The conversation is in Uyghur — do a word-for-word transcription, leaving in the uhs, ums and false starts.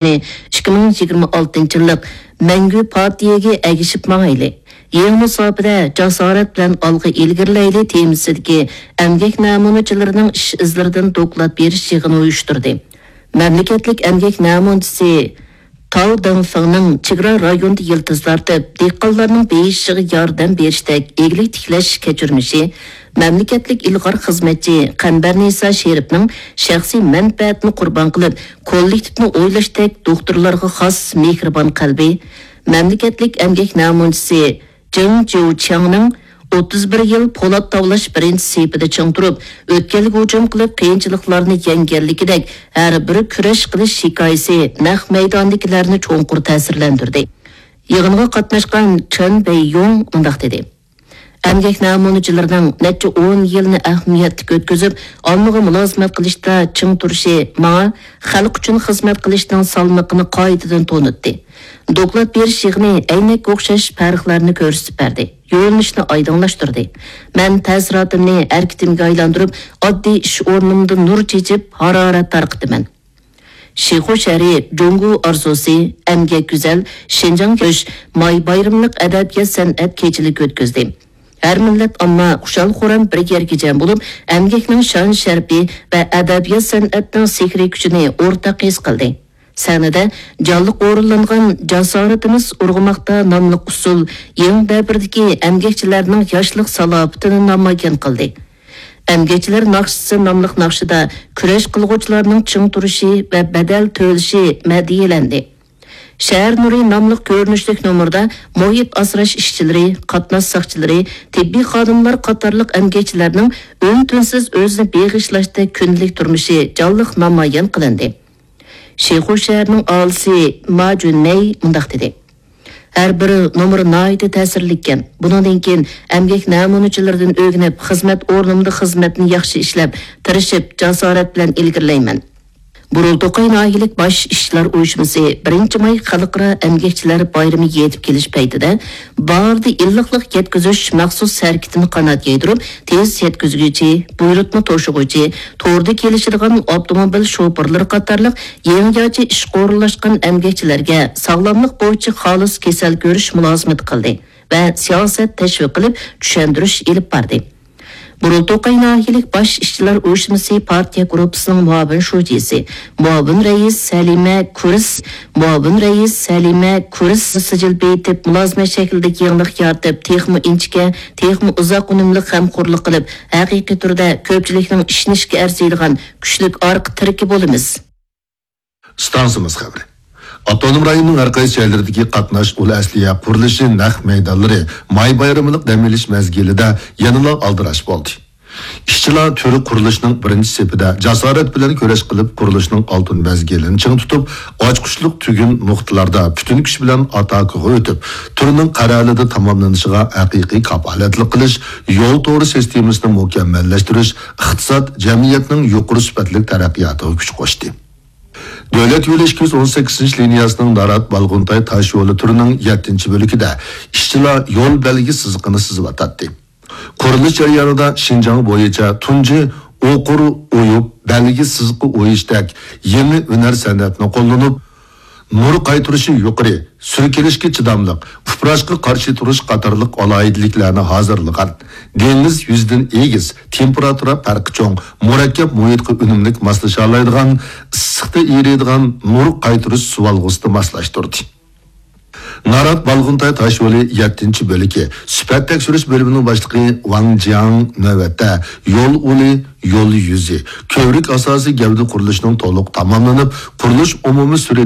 ئىككى مىڭ يىگىرمە ئالتىنچى يىللىق مەڭگۈ پارتىيەگە ئەگىشىپ ماڭايلى، يېڭى مۇساپىدە جاسارەت بىلەن ئالغا ئىلگىرىلەيلى تېمىسىدىكى ئەمگەك نەمۇنىچىلىرىنىڭ ئىش ئىزلىرىدىن دوكلات بېرىش يىغىنى ئۇيۇشتۇردى. مەملىكەتلىك ئەمگەك نەمۇنىچىسى تاۋ دېڭفېڭنىڭ چېگرا رايونىدا يىلتىز تارتىپ، دېھقانلارنىڭ بېيىشىغا ياردەم بېرىشتەك ئىگىلىك تىكلەش كەچۈرمىشى، مەملىكەتلىك ئىلغار خىزمەتچى قەمبەرنىسا شېرىپنىڭ شەخسىي مەنپەئەتنى قۇربان قىلىپ، كوللېكتىپنى ئويلاشتەك دوختۇرلارغا خاس مېھرىبان قەلبى، مەملىكەتلىك ئەمگەك نەمۇنىچىسى جېڭ جيۇچياڭنىڭ ئوتتۇز بىر يىل پولات تاۋلاش بىرىنچى سېپىدە چىڭ تۇرۇپ، ئۆتكەلگە ھۇجۇم قىلىپ، قىيىنچىلىقلارنى يەڭگەنلىكىدەك ھەر بىر كۈرەش قىلىش ھېكايىسى نەق مەيداندىكىلەرنى چوڭقۇر تەسىرلەندۈردى. يىغىنغا قاتناشقان چېن بېييۇڭ مۇنداق دېدى: ئەمگەك نەمۇنىچىلىرىنىڭ نەچچە ئون يىلنى ئەھمىيەتلىك ئۆتكۈزۈپ، ئاممىغا مۇلازىمەت قىلىشتا چىڭ تۇرۇشى ماڭا خەلق ئۈچۈن خىزمەت قىلىشنىڭ سالمىقىنى قايتىدىن تونۇتتى. دوكلات بېرىش يىغىنى ئەينەككە ئوخشاش پەرقلەرنى كۆرسىتىپ بەردى، يۆنىلىشنى ئايدىڭلاشتۇردى. مەن تەسىراتىمنى ھەرىكىتىمگە ئايلاندۇرۇپ، ئاددىي ئىش ئورنۇمدا نۇر چېچىپ، ھارارەت تارقىتىمەن. شىخۇ شەھىرى جۇڭگو ئارزۇسى، ئەمگەك گۈزەل، شىنجاڭ كۆش ماي بايرىملىق ئەدەبىيات-سەنئەت كېچىلىكى ئۆتكۈزدى. ھەر مىللەت ئامما خۇشال-خۇرام بىر يەرگە جەم بولۇپ، ئەمگەكنىڭ شان-شەرىپى ۋە ئەدەبىيات-سەنئەتنىڭ سېھرىي كۈچىنى ئورتاق ھېس قىلدى. سەھنىدە جانلىق ئورۇنلانغان جاسارىتىمىز ئۇرغۇماقتا ناملىق ئۇسسۇل يېڭى دەۋردىكى ئەمگەكچىلەرنىڭ ياشلىق سالاپىتىنى نامايان قىلدى. ئەمگەكچىلەر ناخشىسى ناملىق ناخشىدا كۈرەش قىلغۇچىلارنىڭ چىڭ تۇرۇشى ۋە بەدەل تۆلىشى مەدھىيەلەندى. شەھەر نۇرى ناملىق كۆرۈنۈشلۈك نومۇردا مۇھىت ئاسراش ئىشچىلىرى، قاتناش ساقچىلىرى، تېببىي خادىملار قاتارلىق ئەمگەكچىلەرنىڭ ئۈن-تىنسىز ئۆزىنى بېغىشلاشتەك كۈندىلىك تۇرمۇشى جانلىق نامايان قىلىندى. شىخۇ شەھىرىنىڭ ئاھالىسى ما جۈنمەي مۇنداق دېدى: ھەر بىر نومۇر ناھايىتى تەسىرلىككەن. بۇنىڭدىن كېيىن ئەمگەك نەمۇنىچىلىرىدىن ئۆگىنىپ، خىزمەت ئورنۇمدا خىزمەتنى ياخشى ئىشلەپ، تىرىشىپ، جاسارەت بىلەن ئىلگىرىلەيمەن. بۇرۇلتوقاي ناھىيەلىك باش ئىشچىلار ئۇيۇشمىسى بىرىنچى ماي خەلقئارا ئەمگەكچىلەر بايرىمى يېتىپ كېلىش پەيتىدە بارىدا ئىللىقلىق يەتكۈزۈش مەخسۇس ھەرىكىتىنى قانات يايدۇرۇپ، تېز يەتكۈزگۈچى، بۇيرۇتما توشۇغۇچى، توردا كېلىشىدىغان ئاپتوموبىل شوپۇرلىرى قاتارلىق يېڭىچە ئىشقا ئورۇنلاشقان ئەمگەكچىلەرگە ساغلاملىق بويىچە خالىس كېسەل كۆرۈش مۇلازىمىتى قىلدى ۋە سىياسەت تەشۋىق قىلىپ، چۈشەندۈرۈش ئېلىپ باردى. بۇرۇلتوقاي ناھىيەلىك باش ئىشچىلار ئۇيۇشمىسى پارتىيە گۇرۇپپىسىنىڭ مۇئاۋىن شۇجىسى، مۇئاۋىن رەئىس سەلىمە كۇرس، مۇئاۋىن رەئىس سەلىمە كۇرس سىجىل بېيىتىپ، مۇلازىمەت شەكلىدىكى يېڭىلىق يارىتىپ، تېخىمۇ ئىنچىكە، تېخىمۇ ئۇزاق ئۈنۈملۈك غەمخورلۇق قىلىپ، ھەقىقىي تۈردە كۆپچىلىكنىڭ ئىشىنىشىگە ئەرزىيدىغان كۈچلۈك ئارقا تىرىكى بولىمىز. ئىستانسىمىز خەۋىرى. ئاپتونوم رايوننىڭ ھەر قايسى جايلىرىدىكى قاتناش ئۇل ئەسلىھە قۇرۇلۇشى نەق مەيدانلىرى ماي بايرىملىق دەم ئېلىش مەزگىلىدە يەنىلا ئالدىراش بولدى. ئىشچىلار تۈرى قۇرۇلۇشنىڭ بىرىنچى سېپىدە جاسارەت بىلەن كۈرەش قىلىپ، قۇرۇلۇشنىڭ ئالتۇن مەزگىلىنى چىڭ تۇتۇپ، ئاچقۇچلۇق تۈگۈن نۇقتىلاردا پۈتۈن كۈچ بىلەن ئاتاكىغا ئۆتۈپ، تۈرنىڭ قەرەلىدە تاماملىنىشىغا ھەقىقىي كاپالەتلىك قىلىش، يول تورى سىستېمىسىنى مۇكەممەللەشتۈرۈش، ئىقتىساد، جەمئىيەتنىڭ يۇقىرى سۈپەتلىك تەرەققىياتىغا كۈچ قوشتى. دۆلەت يولى ئىككى يۈز ئون سەككىزىنچى لىنىيەسىنىڭ نارات بالغۇنتاي تاش يولى تۈرىنىڭ يەتتىنچى بۆلىكىدە ئىشچىلار يول بەلگە سىزىقىنى سىزىۋاتاتتى. قۇرۇلۇش جەريانىدا شىنجاڭ بويىچە تۇنجى ئوقۇر ئويۇپ بەلگە سىزىقى ئويۇشتەك يېڭى ھۈنەر سەنئەتنى قوللىنىپ، نۇر قايتۇرۇشى يۇقىرى، سۈركىلىشكە چىداملىق، ئۇپراشقا قارشى تۇرۇش قاتارلىق ئالاھىدىلىكلەرنى ھازىرلىغان، دېڭىز يۈزىدىن ئېگىز، تېمپېراتۇرا پەرقى چوڭ، مۇرەككەپ مۇھىتقا ئۈنۈملۈك ماسلىشالايدىغان، ئىسسىقتا ئېرىيدىغان نۇر قايتۇرۇش سۇۋالغۇسىدا ماسلاشتۇردى. نارات بالغۇنتاي تاش يولى يەتتىنچى بۆلىكى سۈپەت تەكشۈرۈش بۆلۈمىنىڭ باشلىقى ۋاڭ جياڭ نۆۋەتتە يول ئۇلى، يول يۈزى، كۆۋرۈك ئاساسىي گەۋدە قۇرۇلۇشىنىڭ تولۇق تاماملىنىپ، قۇرۇلۇش ئومۇمىي سۈرئىتى